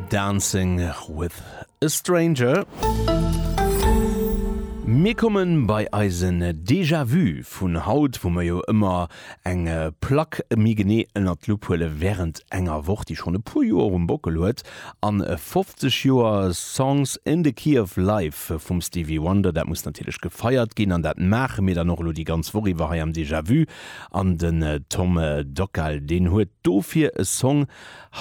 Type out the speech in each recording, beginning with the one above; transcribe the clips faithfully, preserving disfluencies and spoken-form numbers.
Dancing with a Stranger. Mir kommen bei eisen Déjà-vu vun haut, wou mer jo ëmmer eng Plack méi genee ënner d'Lupp huele wärend enger Woch, déi schonn e puer Joer um Bockel huet. An fofzeg Joer Songs in the Key of Life vum Stevie Wonder, dat muss natierlech gefeiert ginn an dat maache mir dann och elo déi ganz Woch iwwer hei am Déjà-vu. An den Tom Dockal, deen huet dofir e Song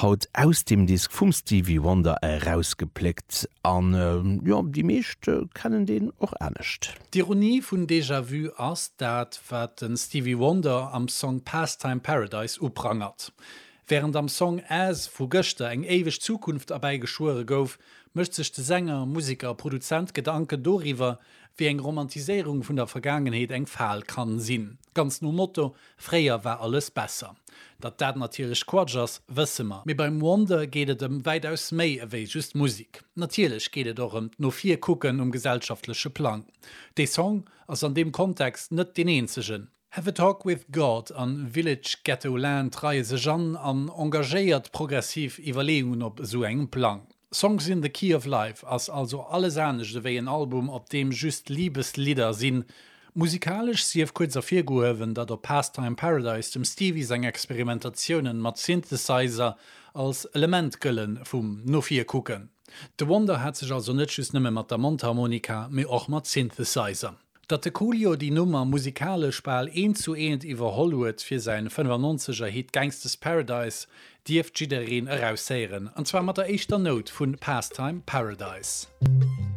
haut aus dem Disk vum Stevie Wonder erausgepléckt an jo, déi meescht kennen deen och anescht. D'Ironie vun Déjà-vu ass dat, wat den Stevie Wonder am Song Pastime Paradise uprangert. Wärend am Song As vu gëschter eng éiweg Zukunft erbäigeschwuere gouf, mécht sech de Sänger, Museker a Produzent Gedanken doriwwer, wéi eng Romantiséierung vun der Vergaangenheet eng Fal kann sinn. Ganz nom Motto, Fréier war alles besser. Datt dat natierlech Quatsch ass, wësse mer. Mee beim Wonder geet et ëm wäitaus méi ewéi just Musek. Natierlech geet et och ëm d'no vir kucken um gesellschaftleche Plang. Dee Song ass an deem Kontext net deen eenzegen. Have a Talk with God an Village Ghetto Land reie sech an an engagéiert progressiv Iwwerleeungen op esou engem Plang. Songs in the Key of Life ass also alles anescht ewéi en Album, op deem just Libeslidder sinn. Musikalesch sief kuerz ervirgehuewen, datt op Pastime Paradise dem Stevie seng Experimentatiounen mat Synthesizer als Element gëllen vum no vir kucken. De Wonder hat sech also net just nëmme mat der Mondharmonika, mee och mat Synthesizer. Datt de Coolio déi Nummer musikalesch bal eent zu eent iwwerholl huet fir säin fënnefannonzeger Hit Gangsta's Paradise, dierft jiddereen eraushéieren, an zwar mat der éischter Nout vu Pastime Paradise.